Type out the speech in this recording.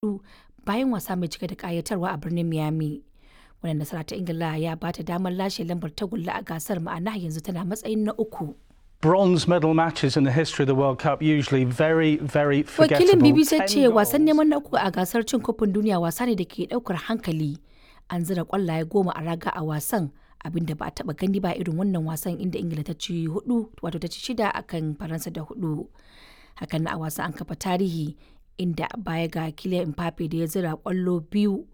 4 bayan wasa mai cike da ƙayatarwa a birnin Miami. Wannan nasara ta Ingila ya ba ta damar lashe lambar tagulla a gasar, ma'ana yanzu tana matsayin na uku. Bronze medal matches in the history of the World Cup usually very, very Wakilin forgettable. BBC ya ce 10 wasan goals. neman na uku a gasar cin kofin duniya wasa ne da ke daukar hankali. An zira kwallaye 10 a raga a wasan, abinda ba a taba gani ba irin wannan wasan, inda Ingila ta ci hudu, wato ta ci shida akan Faransa da hudu. Hakan na a wasan an kafa tarihi, inda baya ga Kylian Mbappe da ya zira kwallo biyu